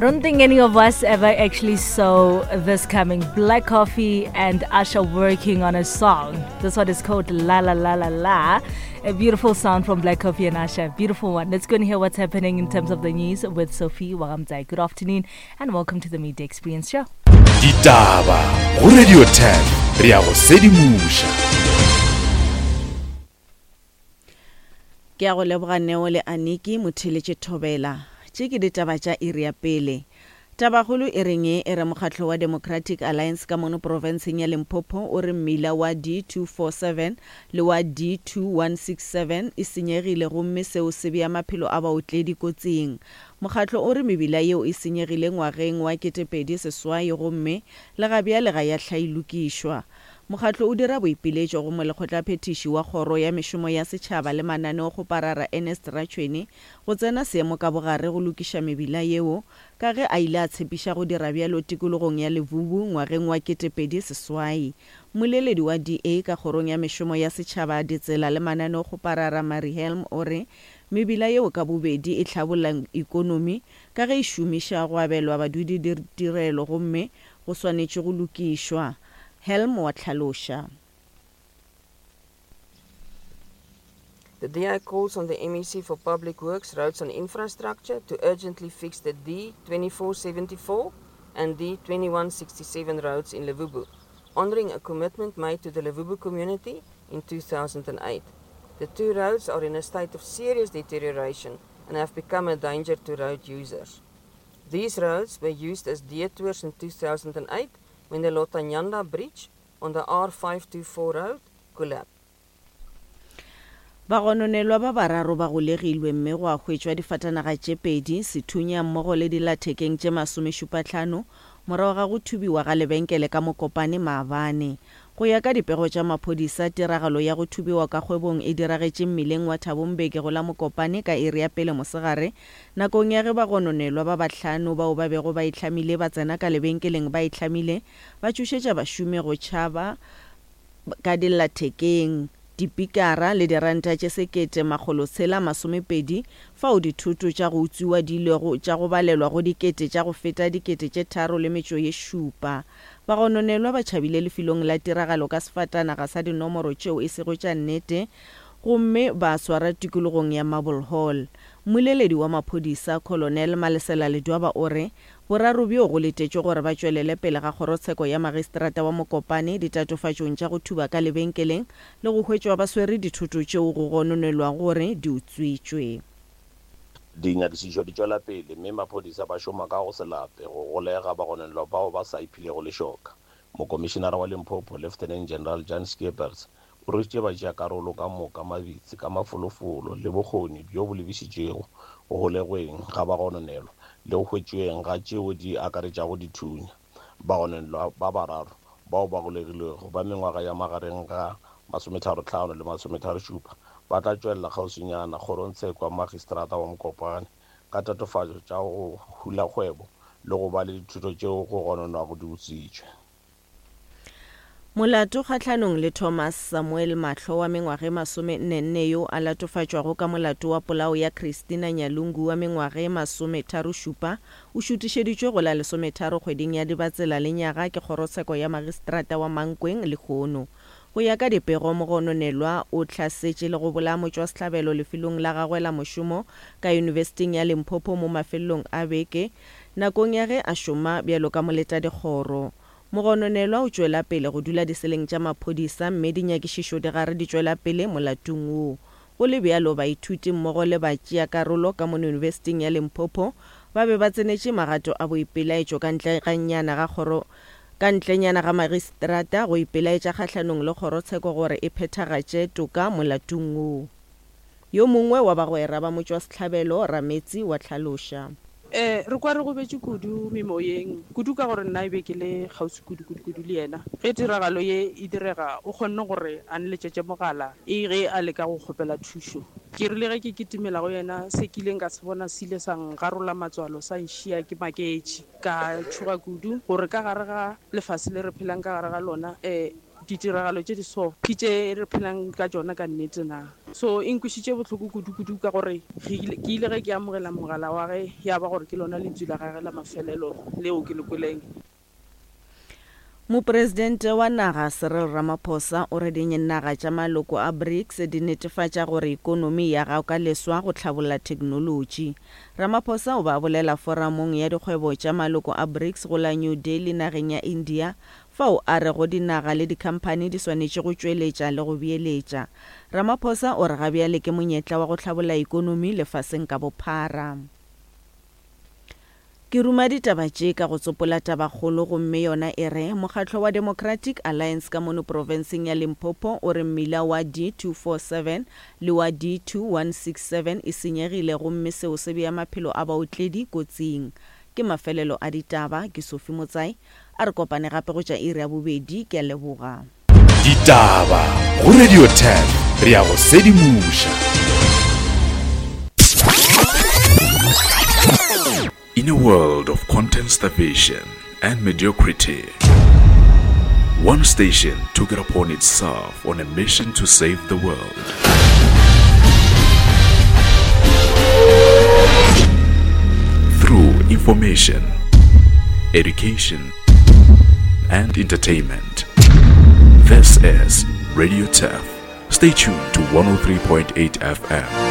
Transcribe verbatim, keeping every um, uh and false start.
don't think any of us ever actually saw this coming. Black Coffee and Usher working on a song. This one is called La La La La La. A beautiful sound from Black Coffee and Usher. Beautiful one. Let's go and hear what's happening in terms of the news with Sophie Wagamzai. Good afternoon and welcome to the Media Experience Show. Ditaba go Radio ten re a go sedimoša. Ke a go leboga Neo le Aniki motheletše thobela. Tše ke ditaba tša iri ya pele. Tabakgolo e reng e re mokgatlo wa Democratic Alliance ka mono profenseng ya Limpopo o re mmila wa D two four seven le wa D two one six seven e senyegile gomme seo se bea maphelo a baotledi kotsing. Mokgatlo o re mebila yeo e senyegile ngwageng wa ketepedi seswai gomme le ga bjale ga ya hlailokišwa. Mokgatlo o dira boipiletšo go molekgotlaphethiši wa kgoro ya mešomo ya setšhaba le mananeokgoparara Ernest Ratšhweni go tsena seemo ka bogare go lokiša mebila yeo ka ge a ile a tshepiša go dira bjalo tikologong ya Levubu ngwageng wa ketepedi seswai. Mmoleledi wa D A ka kgorong ya mešomo ya setšhaba, ditsela le mananeokgoparara Mary Helm o re mebila yeo ka bobedi e hlabolla ikonomi ka ge e šomiša go abelwa badudi ditirelo gomme go swanetše go lokišwa. Helm wa tlhaloša. The D A calls on the M E C for Public Works, Roads and Infrastructure to urgently fix the D twenty-four seventy-four and D twenty-one sixty-seven roads in Levubu, honouring a commitment made to the Levubu community in two thousand eight. The two roads are in a state of serious deterioration and have become a danger to road users. These roads were used as detours in two thousand eight when the Lotanyanda Bridge on the R five two four road collapsed. Bagononelwa ba bararo ba golegilwe mme go a hwetšwa difatanaga tše pedi, sethunya mmogo le dilathekeng tše masomešupahlano morago ga go thubiwa ga lebenkele ka Mokopane maabane. Go ya ka dipego tša maphodisa, tiragalo ya go thubiwa ka kgwebong e diragetše mmileng wa Thabombeke go la Mokopane ka iri ya pele mosegare nakong ya ge bagononelwa ba bahlano bao ba bego ba itlhamile ba tsena ka lebenkeleng ba itlhamile ba tšhošetša bašomi go tšhaba ka dillathekeng, dipikara le diranta tše sekete makgolo tshela masomepedi fao dithoto tša go utswiwa di ilego tša go balelwa go dikete tša go feta dikete tše tharo le metšo ye šupa. Bagononelwa ba tšhabile lefelong la tiragalo ka sefatanaga sa dinomoro tšeo e sego tša nnete gomme ba swara tikologong ya Marble Hall. Mmoleledi wa maphodisa Colonel Malesela Ledwaba o re boraro bjo go letetšwe gore ba tšwelele pele ga kgorotsheko ya magistrata wa Mokopane ditatofatšong tša go thuba ka lebenkeleng le go hwetšwa ba swere dithoto tšeo go gononelwago gore di utswitšwe. Dinyakišišo di tšwela pele mme maphodisa ba šoma ka go se lape go golega bagononelwa bao ba sa iphilego lešoka. Mokomišenara wa Limpopo Lieutenant General Jan Skeepers o rwešitše batšeakarolo ka moka mabitsi ka mafolofolo le bokgoni bjo bo lebišitšego go golegweng ga bagononelwa le go hwetšweng ga tšeo di akaretšago dithunya. Bagononelwa ba bararo bao ba golegilwego ba mengwaga ya magareng ga masometharo-hlano le masometharo-šupa ba tla tšwelela kgauswinyana kgorongtsheko ya magistrata wa Mokopane ka tatofatšo tša go hula kgwebo le go ba le dithuto tšeo go gononwago di utswitšwe. Molato kgahlanong le Thomas Samuel Mahlo wa mengwaga e masomenne yo a latofatšwago ka molato wa polao ya Christina Nyalungu wa mengwaga e masometharo-šupa o šutišeditšwe go la lesometharo kgweding ya Dibatsela lenyaga ke kgorotsheko ya magistrata wa Mankweng lehono. Go ya ka dipego, mogononelwa o hlasetše le go bolaya motšwasehlabelo lefelong la gagwe la mošomo ka Yunibesithing ya Limpopo mo mafelelong a beke nakong ya ge a šoma bjalo ka moletadikgoro. Mogononelwa o tšwela pele go dula diseleng tša maphodisa mme dinyakišišo di gare di tšwela pele molatong woo. Go le bjalo, baithuti mmogo le batšeakarolo ka mono Yunibesithing ya Limpopo ba be ba tsenetše magato a boipelaetšo ka ntle ga nyana ga kgoro ka ntlenyana ga magistrata go ipelaetša kgahlanong le kgorotsheko gore e phethagatše toka molatong woo. Yo mongwe wa bagwera ba motšwasehlabelo Rametsi wa tlhaloša. Eh, re kwa re gobetše kudu memoyeng, kudu ka gore nna e be ke le kgauswi kudu, kudu, kudu le yena. Ge tiragalo ye e direga, o kgonne gore a nletšetše mogala e ge a leka go kgopela thušo. Ke rile ge ke kitimela go yena, se ke ileng ka se bona se ile sa ngarola matswalo, sa nšia ke maketše. Ka tšhoga kudu gore ka gare ga lefase le re phelang ka gare ga lona, eh, ditiragalo tše di so ke tše re phelang ka tšona ka nnete na. So e nkwišitše bohloko kudu-kudu ka gore ke ile ge ke amogela mogala wa ge ya ba gore ke lona lentšu la gage la mafelelo leo ke le kweleng. Mopresidente wa naga Cyril Ramaphosa o re dinaga tša maloko a BRICS di netefatša gore ikonomi ya gago ka leswa go hlabolla theknolotši. Ramaphosa o ba bolela foramong ya dikgwebo tša maloko a BRICS go la New Delhi nageng ya India, fao a rego dinaga le dikhamphani di swanetše go tšweletša le go beeletša. Ramaphosa o re ga bjale ke monyetla wa go hlabolla ikonomi lefaseng ka bophara. Ke ruma ditaba tše ka go tsopola tabakgolo gomme yona e re mokgatlo wa Democratic Alliance ka mono profenseng ya Limpopo o re mmila wa D two four seven le wa D two one six seven e senyegile gomme seo se bea maphelo a baotledi kotsing. Ke mafelelo a ditaba, ke Sophie Motsai, a re kopane gape go tša iri ya bobedi, ke a leboga. Ditaba go Radio ten, re ya go sedimoša. In a world of content starvation and mediocrity, one station took it upon itself on a mission to save the world. Through information, education, and entertainment. This is Radio T E F. Stay tuned to one oh three point eight F M.